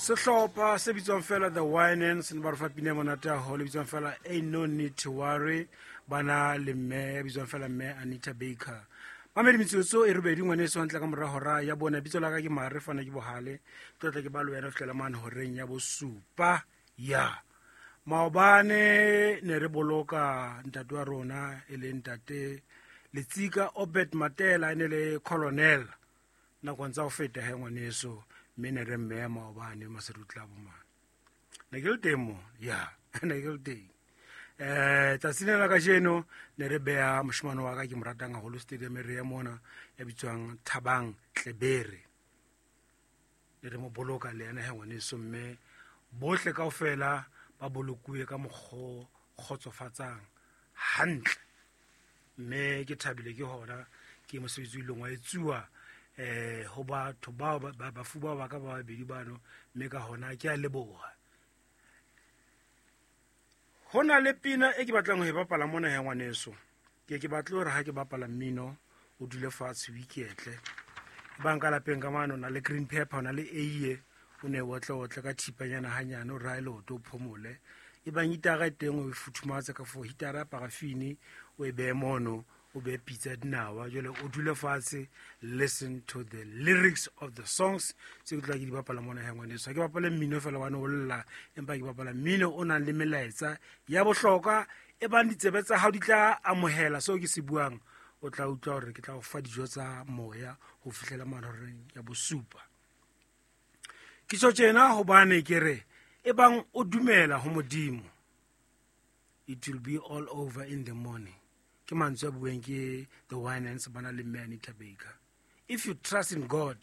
Sehlopha se bitswang fela The Winans ne ba re fa pina e monate haholo e bitswang fela Ain't No Need to Worry, ba na le mme ya bitswang fela mme Anita Baker. Mamedi metsotso e robedi ngwaneso hantle ka mora hora ya bone. Bitso la ka ke Mare fana ke Bohale, ke tla ke ba le wena ho fihlela mane horeng ya bosupa. Ya maobane ne re boloka ntate wa rona e leng ntate Letsika Obert Matela, e ne le colonel nakong tsa ho feta he ngwaneso, mme ne re mmeya maobane maserutla bomane. Ne ke le teng mo, ya ne ke le teng. Tsatsi lena la kajeno ne re beha moshemane wa ka ke mo ratang haholo stadium re ya mona ya bitswang Thabang Tlebere, ne re mo boloka le yena he ngwaneso, mme bohle kaofela ba bolokuwe ka mokgo kgotsofatsang hantle, mme ke thabile ke hona ke mosebetsi o ileng wa etsuwa ho batho bao bafu bao ba ka ba babedi bano, mme ka hona ke a leboha. Ho na le pina e ke batlang ho e bapala mona ya ngwaneso, ke batle hore ha ke bapala mmino o dule fatshe o iketle. Bang ka lapeng ka mane o na le green pepper, o na le eiye, o ne otle otle ka thipanyana hanyane, o rae leoto o phomole. E bang hitara e teng o e futhumatse ka fo hitara ya parafini, o e behe mono, o behe pitsa ya dinawa, jwale o dule fatshe, listen to the lyrics of the songs tse ke tla ke di bapala mona ya ngwaneso. Ha ke bapale mmino fela hobane o lla, empa ke bapala mmino o nang le melaetsa ya bohlokwa, e bang ditsebe tsa hao di tla amohela seo ke se buang, o tla utlwa hore ke tla o fa dijo tsa moya ho fihlela mane horeng ya bosupa. Ke tjho tjena hobane ke re e bang o dumela ho Modimo, it will be all over in the morning. Ke mantswe a bueng ke The Winans ba na le mme Anita Baker. If you trust in God,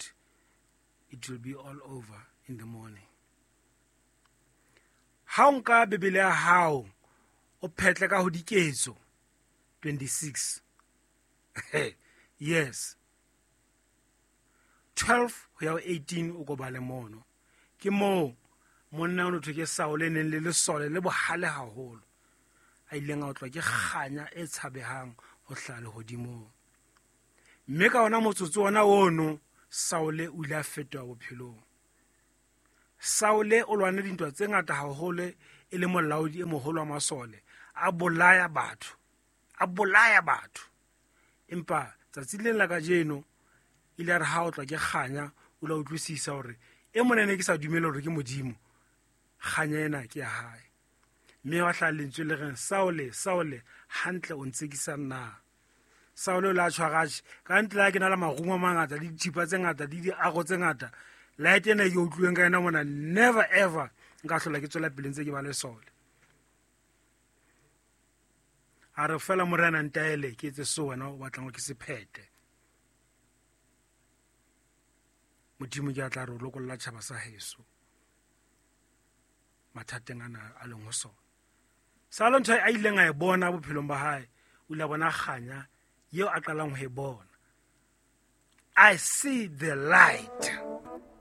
it will be all over in the morning. Ha o nka Bibele ya hao o phetle ka ho Diketso 26, yes, 12 ho ya ho 18, o ko bale mono. Ke moo monna o no thwe ke Saule, neng le lesole le bohale haholo, a ileng a otlwa ke kganya e tshabehang ho hlaha lehodimong, mme ka ona motsotso ona ono Saule o ile a fetoha bophelong. Saule o lwane dintwa tse ngata haholo e le molaodi e moholo wa masole, a bolaya batho, a bolaya batho, empa tsatsi leng la kajeno ile a re ha o tlwa ke kganya, o la utlwisisa hore e monene ke sa dumele hore ke Modimo, kganya ena ke ya hae. Mme wa hlaha lentswe le reng, Saule, Saule, hantle o ntsekisang na? Saule o la tshwaratjhe ka ntle, ha ke na le marumo a mangata le dithipa tse ngata le diaro tse ngata, light ena e ke utlwileng ka yona mona, never ever nka hlola ke tswela pele ntse ke ba lesole. A re fela morena ntaele ke etse seo wena o batlang hore ke se phethe. Modimo ke a tla re o lokolla tjhaba sa heso mathateng ana a leng ho sona. Salo ntho a ileng a e bona bophelong ba hae, o ile a bona kganya eo a qalang ho e bona. I see the light.